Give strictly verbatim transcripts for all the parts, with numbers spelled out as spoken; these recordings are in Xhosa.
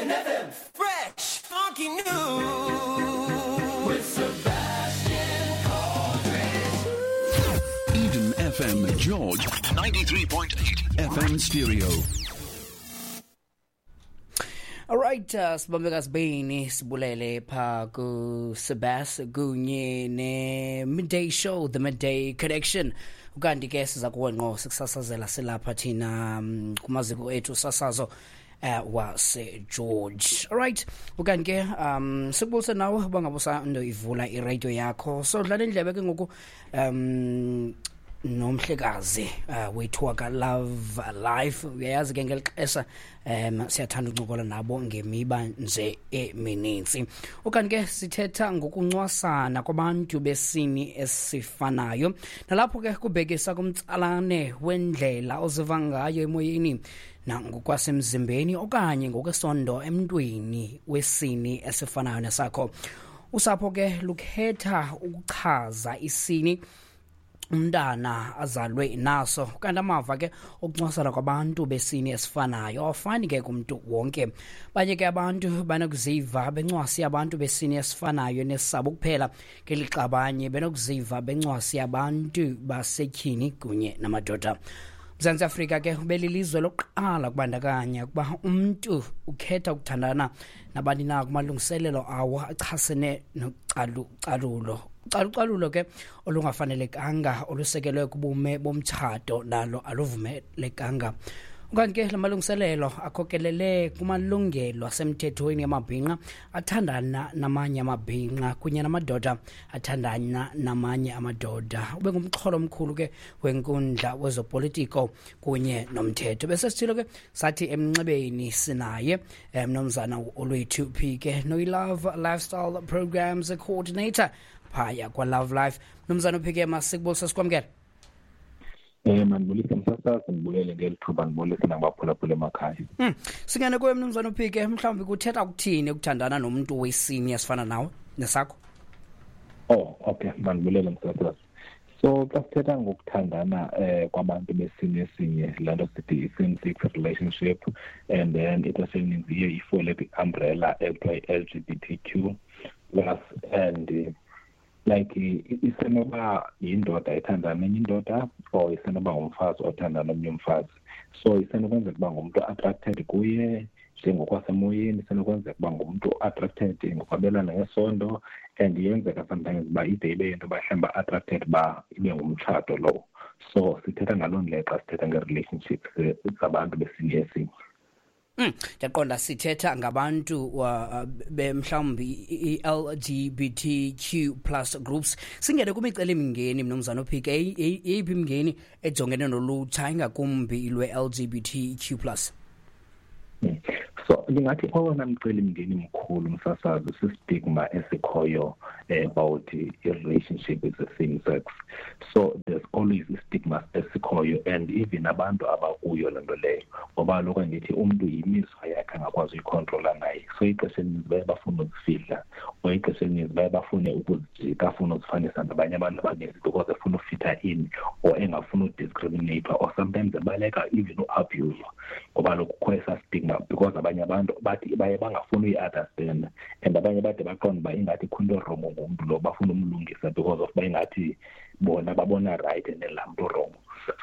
Eden F M, fresh, funky, new. With Sebastian Coldridge. Eden F M, George, ninety-three point eight F M stereo. All right, uh, sibambe kasibini sibulele pha ku Sebas kunye ne Midday Show, the Midday Connection. Ukanti ke siza kuwe ngqo sikusasazela silapha thina um, kumaziko ethu sasazo uh, wase George. All right, ukanti ke um sikubulise nawe uba ndo ivula iradio yakho. So dlala indlebe ke ngoku um nomhlekazi uh, wethu waka Love Life. Uyayazi ke ngeli xesha um siyathanda ukuncokola nabo ngemiba nje emininzi. Ukanti ke sithetha ngokuncwasana kwabantu besini esifanayo, nalapho ke kubhekisa kumtsalane wendlela oziva ngayo emoyeni nangokwasemzimbeni okanye ngokwesondo emntwini wesini esifanayo nesakho. Usapho ke lukhetha ukuchaza isini umntana azalwe naso, kanti amava ke okuncwasana kwabantu besini esifanayo awafani ke kumntu wonke. Banye ke abantu banokuziva bencwasi abantu besini esifanayo nesabo kuphela, ngelixa abanye benokuziva bencwasi abantu basetyhini kunye namadoda. Mzantsi Afrika ke ubelilizwe lokuqala kubandakanya ukuba umntu ukhetha ukuthandana nabani na kumalungiselelo awo achasene nocalucalulo. Ucalucalulo ke olungafanelekanga olusekelwe kubume bomtshato nalo aluvumelekanga. Ukanti ke la malungiselelo akhokelele kumalungelo asemthethweni amabhinqa athandana namanye amabhinqa kunye namadoda athandana namanye amadoda. Ube ngumxholo omkhulu ke wenkundla wezopolitiko kunye nomthetho. Bese sithilo ke sathi emnxebeni sinaye mnumzana Olwethu Phike, noyi-Love Lifestyle Programs Coordinator phaya kwa-Love Life. Mnumzana Phike, masikubulise sikwamkele. Eh mandibulise msasazi, ndibulele ngeli thuba, ndibulise nakubaphulaphula emakhaya. Mm. Singene kuwe mnumzana Phike, mhlawumbi kuthetha ukuthini ukuthandana nomntu wesini esifana nawe nesakho? Oh, okay, mandibulele msasazi. So xa sithetha ngokuthandana eh kwabantu besini esinye, laa nto sithi same sex relationship, and then ixesha elininzi iye ifole kwi-umbrella ekuthiwa i-L G B T Q plus, and like isenoba yindoda ethandana nenye indoda or isenoba ngumfazi othandana nomnye umfazi. So isenokwenzeka uba ngumntu attracted kuye njengokwasemoyeni, isenokwenzeka uba ngumntu attracted ngokwabelana ngesondo, and iyenzeka sometimes uba ide ibe yinto uba mhlawumbi attracted uba ibe ngumtshato lowo. So sithetha ngaloo ndlela xa sithetha nge-relationships zabantu besini esinye. Mm, ndiyaqonda sithetha ngabantu uh, mhlawumbi i-L G B T Q plus groups. Singene kumicelimingeni mnumzana Phike, eyiphi imingeni ejongene nolutsha ingakumbi lwe-L G B T Q plus? Mm. So ndingathi owona mcelimngeni mkhulu msasazi sistigma esikhoyo about i-relationship with the same sex. So there's always istigma esikhoyo, and even abantu abakuyo loo nto leyo, ngoba kaloku andithi umntu yimizwa yakhe angakwazi uyikhontrola naye. So ixesha elininzi baye bafune ukuzifihla, or ixesha elininzi baye bafune ukuzijika, afune uzifanisa nabanye abantu abaninzi because efuna ufitha in or engafuni udiscriminate, or sometimes ebaleka even uabuse, ngoba kaloku kukho esaa stigma because abanye abantu bathi baye bangafuni uyi-understand, and abanye bade baqonde uba ingathi kukho into wrong ngumntu lo, bafuna umlungisa because of uba ingathi bona babona right and then laa mntu wrong.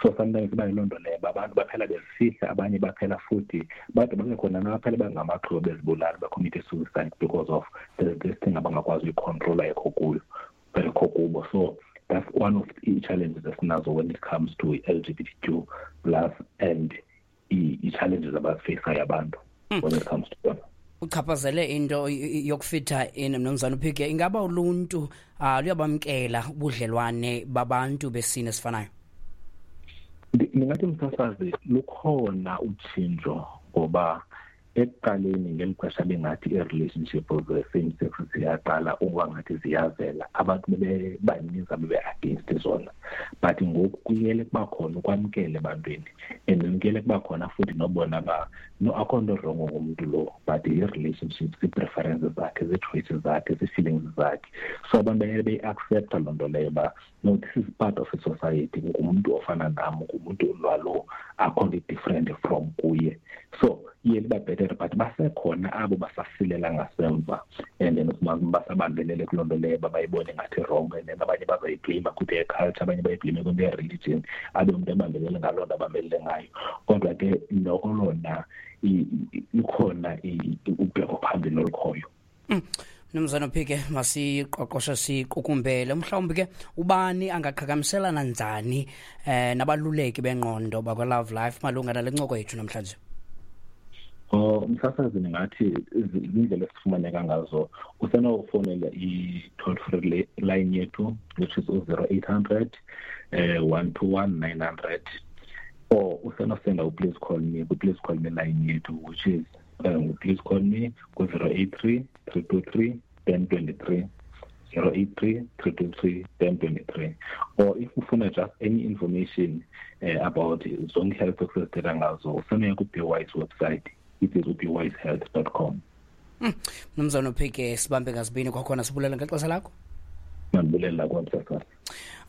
So sometimes iba yiloo nto leyo, abantu baphela bezifihla, abanye baphela futhi bade babe khona nabaphela bangamaxhoba bezibulala, bacommit suicide because of there's this thing abangakwazi uyikhontrola ekho kuyo, ekho kubo. So that's one of the challenges esinazo when it comes to L G B T Q plus and i-challenges abazifaceayo abantu when it comes to them. Uchaphazele into yokufitha in mnumzana Phike, ingaba uluntu uh, luyabamkela ubudlelwane babantu besini esifanayo? Ndingathi msasazi lukhona utshintsho, ngoba ekuqaleni ngeli xesha bengathi i-relationship of the same sex ziyaqala ukuba ngathi ziyavela, abantu bebebaninzi abebe-against zona, but ngoku kuyele kuba khona ukwamkela ebantwini, and kuyele kuba khona futhi nobona uba no, akho nto wrong ngomntu lo, but i-relationships, ii-preferences zakhe, zii-choices zakhe, zii-feelings zakhe. So abantu bayele beyi-accepta loo nto leyo uba no, this is part of a society, ngumntu ofana nam, ngumntu lwalo, akho nto different from kuye. So Iye liba bhetere, but basekhona abo basasilela ngasemva, and then ufumanise basabambelele kuloo nto leyo babayibone ngathi wrong, and then abanye bazayiblame kwi-their culture, abanye bayiblame kwi-their religion, abe umntu ebambelele ngaloo nto abambelele ngayo. Kodwa ke noko lona ikhona ubheko phambili olukhoyo. Mnumzana Phike, masiqoqoshe siqukumbele. Mhlawumbi ke ubani angaqhagamselana njani eh nabaluleki bengqondo bakwa Love Life malunga nale ncoko yethu namhlanje? Oh, umsasazi, ndingathi izindlela esifumaneka ngazo, usenokufowunela i-toll free line yethu, which is u-zero eight hundred eh one two one nine hundred, or usenosenda u-please call me ku-please call me line yethu, which is um, please call me ku-zero eight three three two three ten twenty three, zero eight three three two three ten twenty three. Or if ufuna just any information uh, about zonke health esizithetha ngazo, usenoya ku-BWise website, it is b wise health dot com. Mnumzana Phike, sibambe ngazibini kwakhona, sibulela ngexesha lakho. Mandibulela kwamsasazi.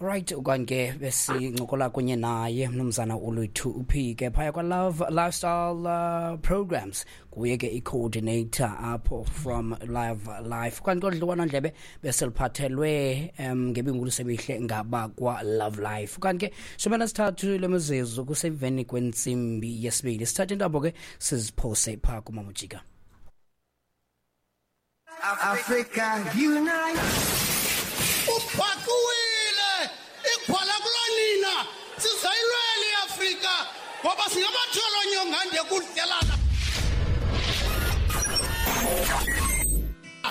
Right, okanye besincokola kunye naye mnumzana uLwethu uPhike phaya kwa Love Lifestyle uh, Programs, kuye ke i-coordinator apho from Love Life. Kanti kodliwano ndlebe beseliphathelwe um ngebingulo semihle ngaba kwa Love Life. Kanti ke shumi nesithathu lemizuzu kusemveni kwentsimbi yesibili, sithathe intambo ke siziphose phaa kuMamujika. Africa unite. Uphakuwile igwala kulonina sizayilwela iAfrika ngoba singabatholo nyongande kudlelana.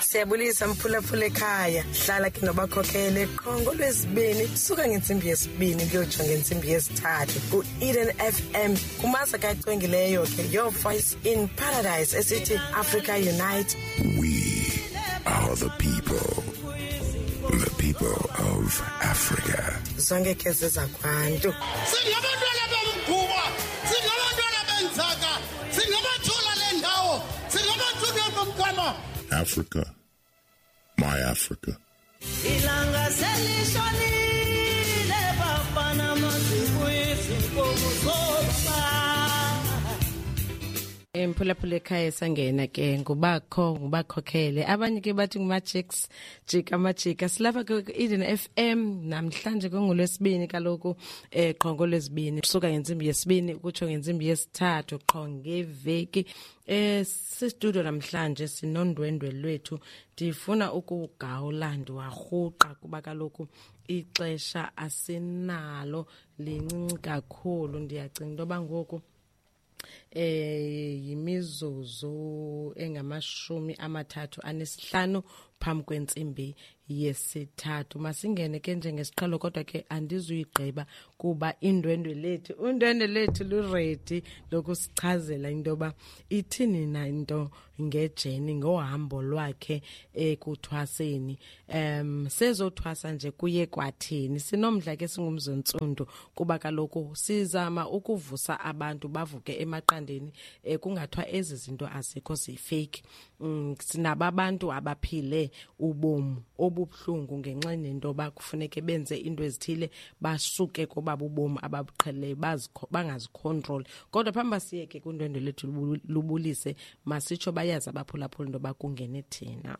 Siyabulisa mphulaphula ekhaya, hlala ke nobakhokhele qho ngolwesibini suka ngentsimbi yesibini kuyotsho ngentsimbi yesithathu ku-Eden F M kumasa kacwengileyo ke Your Voice in Paradise esithi Africa Unite. We are the people, the people of Africa. Zonke ke zezakwantu. Singabantwana bomguba, singabantwana benzaka, singabathola le ndawo, singabathunywa bomgama. Africa, my Africa. Ilanga selishonile bafana masibuyizinkomo zobaba. Emphulaphula ekhaya sangena ke ngubakho ngubakhokhele, abanye ke bathi ngumajicks jika amajika. Silapha ke Eden F M namhlanje kungolwesibini kaloku eh qho ngolwesibini suka ngentsimbi yesibini ukutsho ngentsimbi yesithathu qho ngeveki. Eh si-studio namhlanje sinondwendwe lwethu, ndifuna ukugawula ndiwarhuqa kuba kaloku ixesha asinalo lincinci kakhulu. Ndiyacinga into yoba ngoku eh yimizuzu engamashumi amathathu anesihlanu phambi kwentsimbi yesithathu. Masingene ke njengesiqhelo, kodwa ke andizuyigqiba kuba indwendwe lethu undwendwe lethu lu-ready lokusichazela into yoba ithini na into ngejeni ngohambo lwakhe ekuthwaseni. Um sezothwasa nje kuye kwathini. Sinomdla ke singumzontsundu kuba kaloku sizama ukuvusa abantu bavuke emaqandeni, eh, kungathwa ezi zinto azikho zifake. Mm, sinaba abantu abaphile ubomi obubuhlungu ngenxa nento bakufuneke benze into ezithile basuke koba bubomi ababuqheleyo bangazicontrol. Kodwa phambi siyeke kundwendwe lethu lubulise, masitsho bayazi abaphulaphula into bakungene thina.